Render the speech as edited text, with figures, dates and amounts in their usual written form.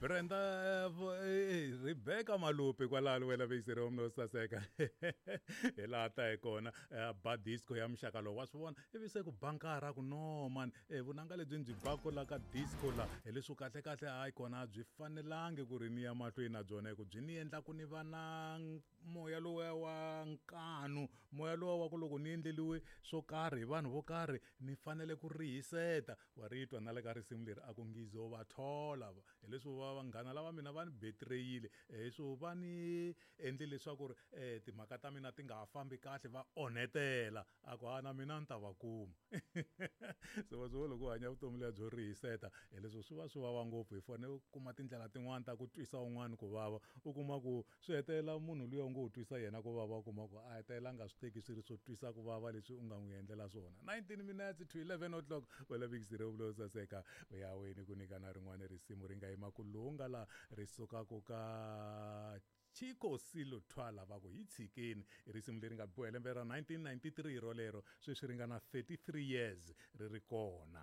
Brenda Rebecca Malupi kwalano wena veyiseri wa mina wo saseka hi laha ta hi kona ba disco ya muxaka lowu wa swi vona ivi se ku bankara ku no man vunanga lebyi byi baku la ka disco la hi leswo kahle kahle hayi kona byi fanelangi ku ri ni ya mahlweni na byona hi ku byi ni endla ku ni va na moya lowuya wa nkanu moya lowa wa ku loko ni endleliwe swo karhi hi vanhu vo karhi ni fanele ku rihiseta wa ri twa na le ka risimu leri a ku ngizo va thola hileswo va vanghana lava mina va ni betrayile so va ni endle leswaku ri timhaka ta mina ti nga ha fambi kahle va onhetela a ku ha na mina ni ta va kuma se wa swi loko u hanya vutomi lebyi byo rihiseta hileswo swi va swi vava ngopfu hi fanele u kuma tindlela tin'wani ta ku twisa un'wana ku vava u kuma ku swi hetelela munhu luya u ngo u twisa yena ku vava u kuma ku a hetelela a nga swi teki swi ri swo twisa ku vava leswi u nga n'wi endlela swona 19 minutes to 11 o'clock wela vikisire vulo saseka u ya weni ku nyikana rin'wana risimu ri nga yima ku lunga la ri sukaka ka Chico Silo Thwala va ku hi tshikeni i risimu leri nga biwa hi lembe ra 1993 rolero sweswi ri nga na 33 years ri ri kona.